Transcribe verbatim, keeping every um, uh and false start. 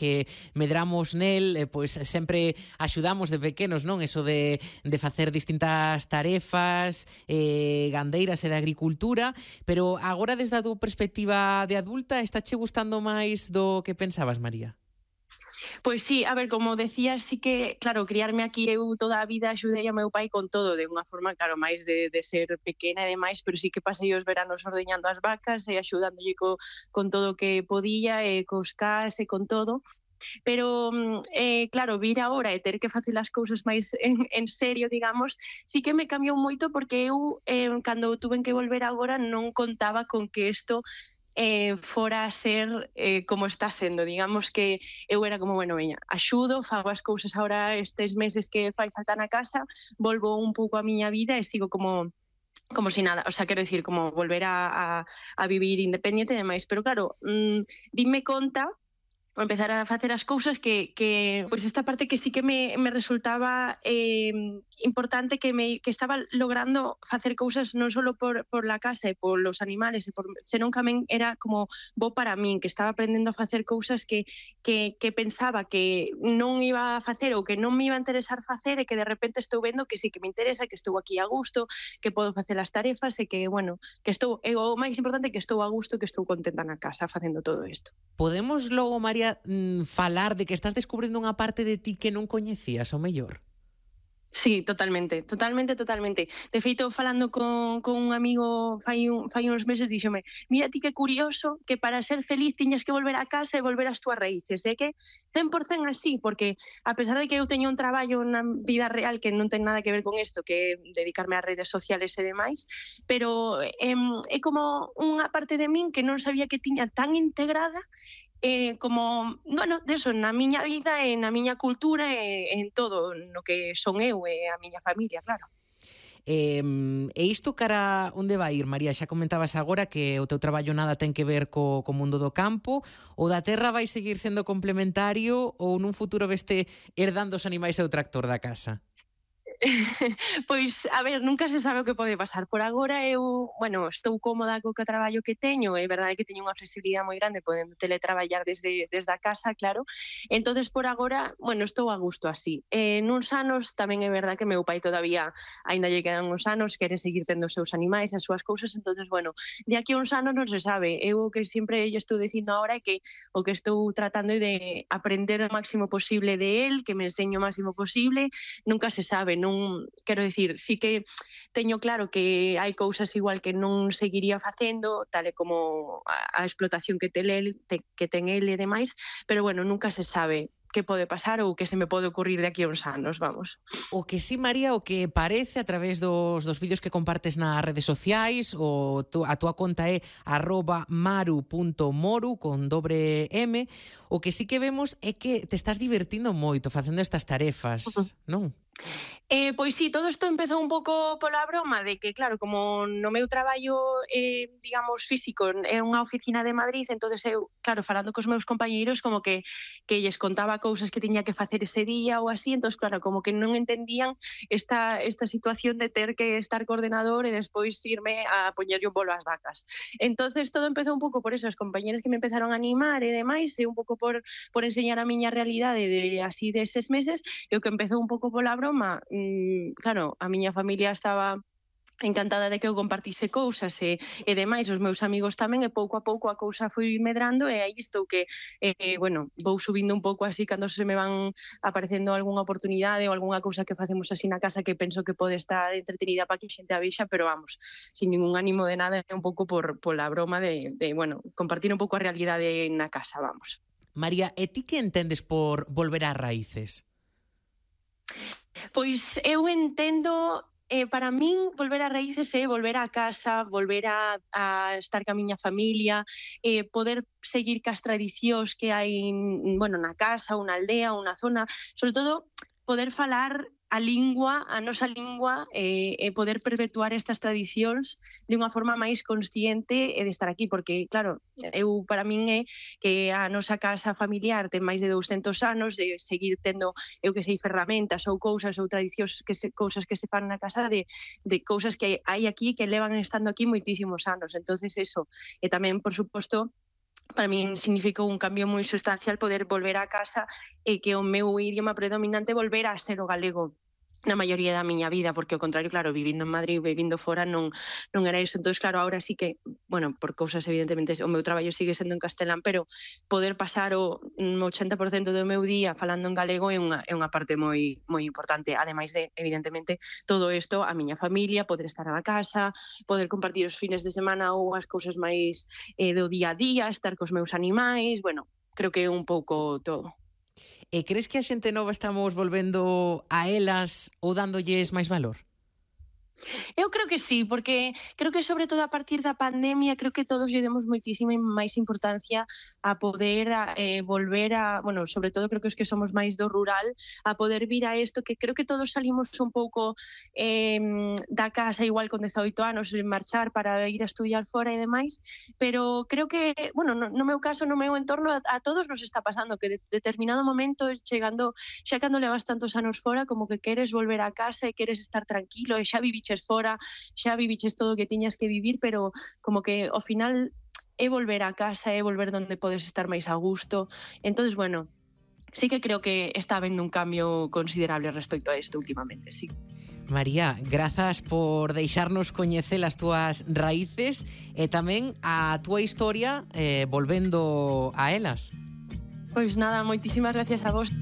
que medramos nel, eh, pois sempre axudamos de pequenos, non? Eso de, de facer distintas tarefas, eh, gandeiras e de agricultura, pero agora desde a túa perspectiva de adulta, está che gustando máis do que pensabas, María? Pois sí, a ver, como decía, sí que, claro, criarme aquí eu toda a vida axudei ao meu pai con todo, de unha forma, claro, máis de, de ser pequena e demais, pero sí que pasei os veranos ordeñando as vacas e axudándolle co, con todo o que podía, e cos cas e con todo. Pero, eh, claro, vir agora e ter que facer as cousas máis en, en serio, digamos, sí que me cambiou moito porque eu, eh, cando tuven que volver agora, non contaba con que isto eh, fora a ser eh, como está sendo. Digamos que eu era como, bueno, veña, axudo, fago as cousas agora estes meses que fai falta na casa, volvo un pouco a miña vida e sigo como como si nada, o sea, quero dicir, como volver a, a, a vivir independiente e demais. Pero claro, mmm, dime conta ou empezar a facer as cousas que, que pois esta parte que sí que me, me resultaba eh, importante, que me que estaba logrando facer cousas non só por, por la casa e por los animales, e por, senón que tamén era como bo para min, que estaba aprendendo a facer cousas que, que, que pensaba que non iba a facer ou que non me iba a interesar facer, e que de repente estou vendo que sí que me interesa, que estou aquí a gusto, que podo facer as tarefas e que, bueno, que estou, e o máis importante, que estou a gusto, que estou contenta na casa facendo todo isto. Podemos logo, María, falar de que estás descubrindo unha parte de ti que non coñecías, ao mellor? Sí, totalmente, totalmente, totalmente. De feito, falando con, con un amigo fai, un, fai uns meses, díxome: mira ti que curioso que para ser feliz tiñas que volver a casa e volver ás túas raíces. É que cen por cen así, porque a pesar de que eu teño un traballo na vida real que non ten nada que ver con isto, que é dedicarme ás redes sociales e demais, pero é, é como unha parte de min que non sabía que tiña tan integrada, eh, como, bueno, deso, na miña vida e na miña cultura e en todo no que son eu e a miña familia, claro. Eh, e isto cara onde vai ir, María? Xa comentabas agora que o teu traballo nada ten que ver co, co mundo do campo. O da terra vai seguir sendo complementario ou nun futuro veste herdando os animais e o tractor da casa? Pois, a ver, nunca se sabe o que pode pasar. Por agora eu, bueno, estou cómoda co que traballo que teño, é verdade que teño unha flexibilidade moi grande podendo teletraballar desde, desde a casa, claro. Entonces, por agora, bueno, estou a gusto así. Eh, nuns anos tamén é verdade que meu pai todavía, aínda lle quedan uns anos, quere seguir tendo os seus animais, as súas cousas, entonces, bueno, de aquí a uns anos non se sabe. Eu o que sempre lle estou dicindo agora é que o que estou tratando é de aprender o máximo posible de él, que me enseñe o máximo posible, nunca se sabe, non non, quero dicir, sí que teño claro que hai cousas igual que non seguiría facendo, tal e como a, a explotación que ten el, te, que ten el e demais, pero bueno, nunca se sabe que pode pasar ou que se me pode ocurrir de aquí a uns anos, vamos. O que sí, María, o que parece a través dos, dos vídeos que compartes nas redes sociais, o tu, a túa conta é arroba maru punto moru con dobre M, o que sí que vemos é que te estás divertindo moito facendo estas tarefas, uh-huh. non? Eh, pois sí, todo isto empezou un pouco pola broma de que, claro, como no meu traballo, eh, digamos, físico, é unha oficina de Madrid, entonces eu, claro, falando cos meus compañeiros, como que que lles contaba cousas que tiña que facer ese día ou así, entonces, claro, como que non entendían esta, esta situación de ter que estar co ordenador e despois irme a poñerlle un bolo ás vacas. Entonces, todo empezou un pouco por eso, os compañeros que me empezaron a animar e demais, e un pouco por, por enseñar a miña realidade de así deses meses, e o que empezou un pouco pola broma, claro, a miña familia estaba encantada de que eu compartise cousas e, e demais, os meus amigos tamén, e pouco a pouco a cousa foi medrando, e aí estou que, eh, bueno, vou subindo un pouco así cando se me van aparecendo algunha oportunidade ou algunha cousa que facemos así na casa que penso que pode estar entretenida para que a xente a vexa, pero vamos, sin ningún ánimo de nada, é un pouco por, por la broma de, de, bueno, compartir un pouco a realidade na casa, vamos. María, e ti que entendes por volver ás raíces? Pois eu entendo, eh, para min, volver ás raíces é volver á casa, volver a, a estar ca miña familia, eh, poder seguir cas tradicións que hai, bueno, na casa, ou na aldea, ou na zona, sobre todo poder falar a lingua, a nosa lingua, e eh, poder perpetuar estas tradicións de unha forma máis consciente e de estar aquí, porque, claro, eu, para min é que a nosa casa familiar ten máis de douscentos anos, de seguir tendo, eu que sei, ferramentas ou cousas ou tradicións, que se, cousas que se fan na casa de, de cousas que hai aquí que levan estando aquí moitísimos anos. Entonces eso, e tamén, por suposto, para min significou un cambio moi sustancial poder volver a casa e que o meu idioma predominante volvera a ser o galego na maioría da miña vida, porque ao contrario, claro, vivindo en Madrid, vivindo fora, non non era iso. Entón, claro, ahora sí que, bueno, por cousas evidentemente, o meu traballo sigue sendo en castelán, pero poder pasar o un ochenta por cento do meu día falando en galego é unha é unha parte moi moi importante, ademais de, evidentemente, todo isto, a miña familia, poder estar na casa, poder compartir os fines de semana ou as cousas máis eh, do día a día, estar cos meus animais, bueno, creo que é un pouco todo. E crees que a xente nova estamos volvendo a elas ou dándolles máis valor? Eu creo que sí, porque creo que sobre todo a partir da pandemia creo que todos lle demos moitísima máis importancia a poder a, eh, volver a, bueno, sobre todo creo que os que somos máis do rural, a poder vir a isto que creo que todos salimos un pouco eh, da casa igual con dezaoito anos en marchar para ir a estudiar fora e demais, pero creo que, bueno, no, no meu caso, no meu entorno, a, a todos nos está pasando que de determinado momento chegando, xa cando levas tantos anos fora, como que queres volver a casa e queres estar tranquilo e xa viviches fora, xa viviches todo o que tiñas que vivir, pero como que ao final é volver a casa, é volver donde podes estar máis a gusto. Entonces, bueno, sí que creo que está habendo un cambio considerable respecto a isto últimamente, sí. María, grazas por deixarnos coñecer as túas raíces e tamén a túa historia eh, volvendo a elas. Pois nada, moitísimas gracias a vos.